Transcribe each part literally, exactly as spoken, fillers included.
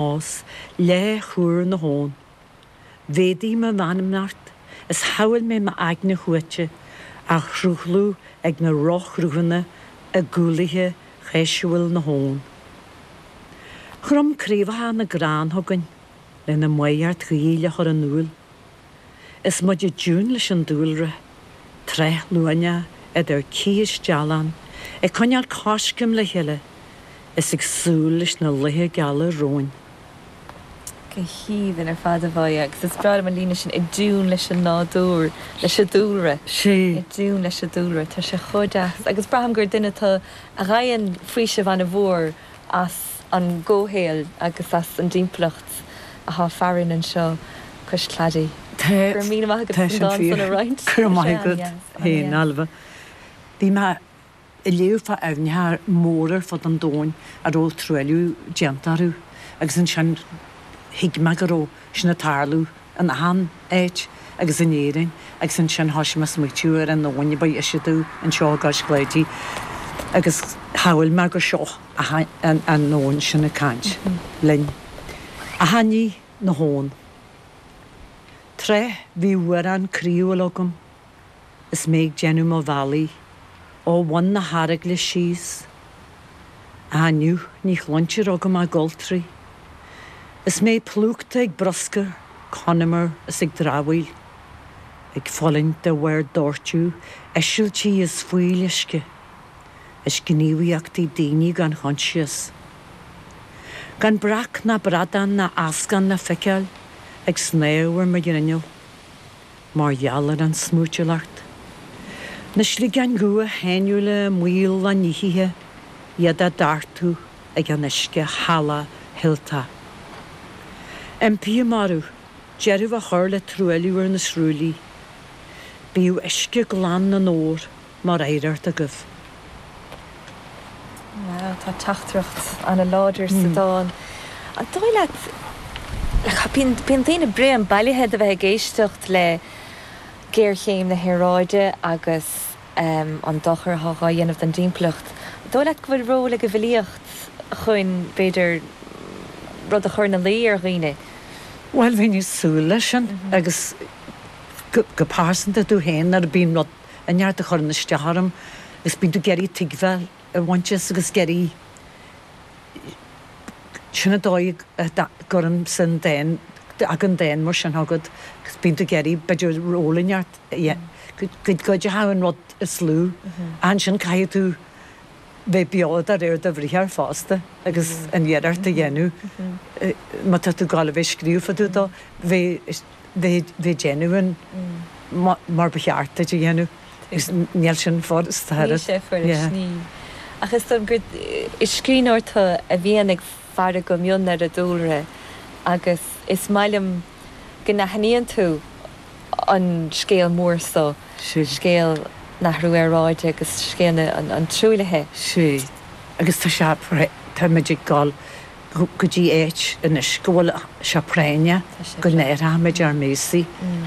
Más le chúr na hón. Mhéadaigh mo mheanmnacht is shamhail mé m'aigne shuaite á shruthlú ag na rothshruthanna i gcúlaithe gheisiúil na habhann. Chrom craobhacha na gcrann chugainn lena maíocht ghaoil a chur in iúl. Is muid i dtiún leis an dúlra, tráth luaineach idir cith is dealán, ag coinneáil coiscéim le chéile is ag súil leis na laetha geala romhainn. Go haoibhinn ar fad, a Mháire, agus is breá liom an líne sin, i dtiún leis an nádúr, leis an dúlra. Sea. I dtiún leis an dúlra. Tá sé chomh deas. Agus braithim gur duine tú a fhaigheann faoiseamh an-mhór as an gcomhshaol agus as an dtimpeallacht atá farainn anseo cois cladaigh. Tá. Go raibh míle maith agat Tá as an sin dán san fíor. a roinnt. Go raibh Tá maith sé agat an-dheas, féin, an-dheas. Ailbhe. Bhí mé ag léamh fá aibhneacha móra ar fud an domhain a raibh truailliú déanta orthu agus ansin thuig mé go raibh sin ag tarlú in achan áit agus in Éirinn agus ansin thoisigh mé ag smaoitiú ar an abhainn a ba dheise domh anseo i gCois Cláidí agus shamhail mé gur seo an abhainn sin ag caint linn. Achainí na hAbhann. Tráth bhí uarán croíúil agam is mé ag déanamh mo bhealaigh ó bhun na hEaragaile síos. Ach inniu ní chluintear agam ach goltraí. Is mé plúchta ag bruscar, conamar is ag dramhaíl, ag fulaingt de bharr doirteadh, eisiltí is fuíolluisce, is gníomhaíochtaí daoine gan choinsias. Gan breac ná bradán ná eascán le feiceáil ag snámh ar mo ghrinneall. Mar gheall ar an smúitiúlacht. Na sligeáin dhubha sháinniúla i mbaol a ndíothaithe, iad á dtartú ag an uisce shalach shilteach. Impím oraibh deireadh a chur le truailliú ar na srúillí. Bíodh uisce glan na n-ór mar oidhreacht agaibh. Wow, tá teachtaireacht an-láidir sa dán. An dóigh leat, bíonn bíonn daoine bréan bailithe de bheith ag éisteacht le géarchéim na haeráide agus an dochar atá á dhéanamh don dtimpeallacht. An dóigh leat go bhfuil ról ag an bhfilíocht chun, b'fhéidir, rud a chur ina luí ar dhaoine? Bhuel, bheinn ag súil leis sin agus go go pearsanta domh féin nuair a bíonn rud inteacht a chuireann isteach orm agus bíonn tú ag iarraidh tuigbheáil a bhaint as agus ag iarraidh sin an dóigh a gcuireann san dán, tagann dán mar sin chugat agus bíonn tú ag iarraidh b'fhéidir ról inteacht go gcuideoidh an rud is lú. Ansin caithfidh tú bheith beo de réir do bhriathair fosta agus an iarracht a dhéanamh má tá tú ag gabháil a bheith ag scríobh fá dtaobh dó, bheith bheith ag déanamh an mar ba cheart duit a dhéanamh agus níl sin furasta Níl sé furast, níl. Ach is dóigh gur is scríbhneoir tú a bhíonn ag faire go mion ar an dúlra agus is maith liom go n-aithníonn tú an scéal mór so, scéal an athrú aeráide agus scéal an truaillithe. Sea, agus tá sé, táimid ag dul go dtí áit anois go bhfuil sé práinneach go n-athróimid ár mbéasaí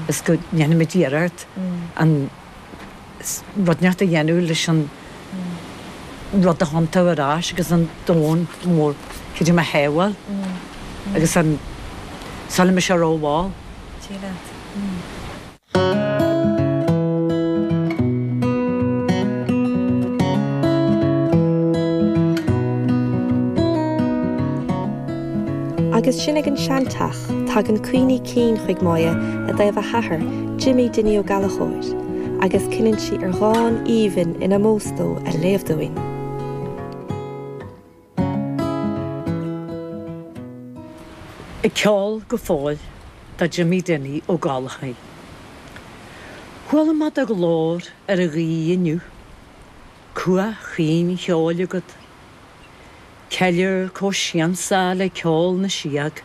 is go ndéanfaimid iarracht an rud inteacht a dhéanamh leis an rud a thiontú ar ais agus an domhan mór creidim a shábháil agus an sula mbeidh sé rómhall. Dia leat. Agus sinn ag an seanteach, tagann cuimhní cinn chuig Máire i dtaobh a hathar, Jimmy Dinny Ó Gallchóir, agus cinneann sí ar dhán aoibhinn in ómós dó a léamh dúinn. Ag ceol go fóill do Jimmy Dinny Ó Gallchóir. Chuala mé do ghlór ar an ghaoth inniu, cumha chaoin cheoil agat, ceiliúr chomh siansach le ceol na síóg.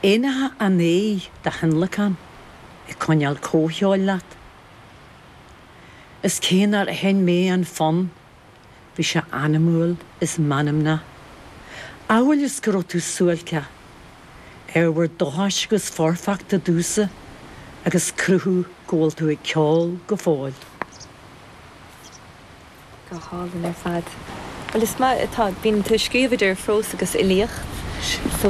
Éanacha an aeir do thionlacan ag coinneáil comhcheoil leat. Is cé nár sheinn mé an fonn, bhí sé anamúil is meanmnach, amhail is go raibh tú suáilceach, ábhar dócháis agus foirfeachta domhsa agus cruthú go bhfuil tú ag ceol go fóill. Go hálainn ar fad. Bhuel, is maith atá, bíonn tú ag scríobh idir phrós agus fhilíocht. So